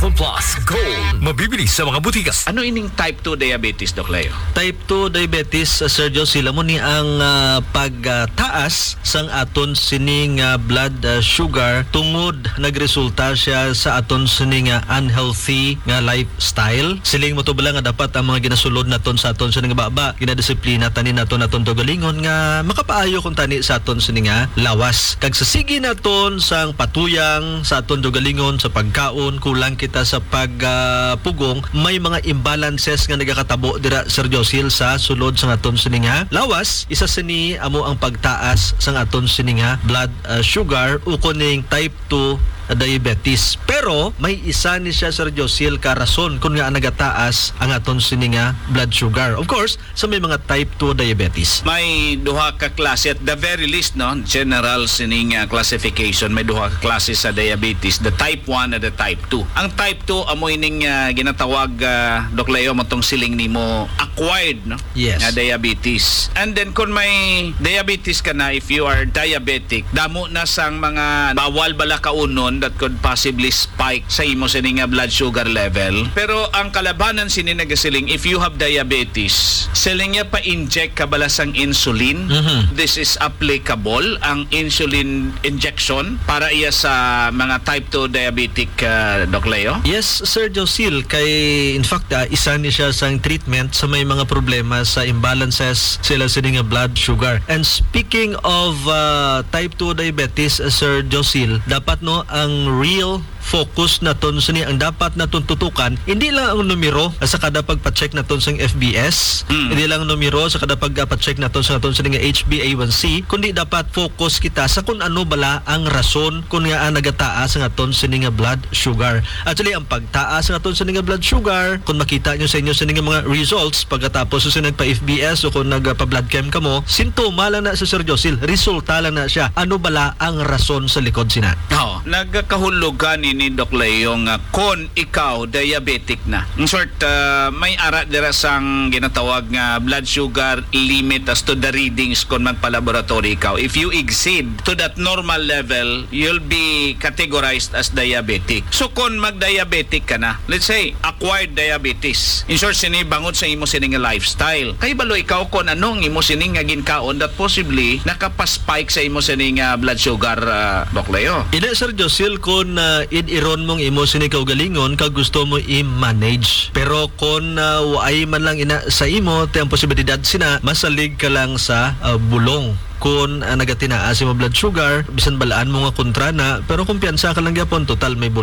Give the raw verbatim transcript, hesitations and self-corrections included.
Plus Gold. Mabibili sa mga butika. Ano ining type two diabetes, Doc Leo? Type two diabetes, uh, Sir Josil, amo ni ang, uh, pagtaas sang aton sining, uh, blood, uh, sugar tungod nagresulta siya sa aton sining, uh, unhealthy nga lifestyle. Siling mo to bala nga dapat ang mga ginasulod naton sa aton sining baba, ginadisiplina tani naton aton kaugalingon nga makapaayo kuntani sa aton sining, uh, lawas. Kag sa sige naton sang patuyang sa aton kaugalingon sa pagkaon, kulang kita sa pag, ah, pugong, may mga imbalances nga nagakatabo dira, Sir Josil, sa sulod sang aton sining lawas. Isa sini amo ang pagtaas sang aton sining blood, ah, sugar, ukon ning type two diabetes. Pero may isa ni siya, Sir Josil, ka rason kung nga nagataas ang aton sining blood sugar. Of course, sa may mga type two diabetes. May duha ka klase, at the very least, no, general sining, ah, classification, may duha ka klase sa diabetes, the type one and the type two. Ang type two, amo ining, ah, ginatawag, ah, Doc Leo, mo tong siling nimo acquired, no? Yes. Nga diabetes. And then, kung may diabetes ka na, if you are diabetic, damo na sang mga bawal bala kaunon that could possibly spike sa imo sini nga blood sugar level. Pero ang kalabanan sini nagasiling, if you have diabetes, siling niya pa-inject ka bala sang insulin. Mhm. This is applicable, ang insulin injection, para iya sa mga type two diabetic, uh, Doc Leo? Yes, Sir Josil, kay in fact, ah, isa ni siya sang treatment sa may mga problema sa imbalances sila sini nga blood sugar. And speaking of, uh, type two diabetes, uh, Sir Josil, dapat, no, ang real focus naton sini, ang dapat naton tutukan, hindi lang ang numero sa kada pagpa-check naton sang F B S, Mm. hindi lang ang numero sa kada pagpa-check naton sa aton sini nga H b A one C, kundi dapat focus kita sa kung ano bala ang rason kung nga ang nagataas ang aton sini nga blood sugar. Actually, ang pagtaas ang aton sini nga blood sugar, kung makita nyo sa inyo sini nga mga results pagkatapos sa nagpa-F B S o kung nagpa-blood chem kamo, sintoma lang na sa, Sir Josil, resulta lang na siya. Ano bala ang rason sa likod sina? Oh, nagkahulugan ini, Doc Leo, nga kon ikaw diabetic na. In short, ah, may ara dira sang ginatawag nga blood sugar limit as to the readings kon magpa-laboratory ikaw. If you exceed to that normal level, you'll be categorized as diabetic. So kon mag-diabetic ka na, let's say, acquired diabetes. In short, sini bangod sa imo sini nga lifestyle. Kay balo ikaw kon ano ang imo sini nga ginkaon that possibly nakapaspike sa imo sini nga blood sugar, ah, Doc Leo. Ina, Sir Josil, kon, ah, id-iron mong imo sini kaugalingon kag gusto mo i-manage. Pero kon, ah, waay man lang ina sa imo, ti ang posibilidad sina masalig ka lang sa, ah, bulong. Kon, ah, nagatinaa sa imo blood sugar, bisan balaan mo nga kontra na, pero kumpiyansa ka lang gyapon, total may bulong.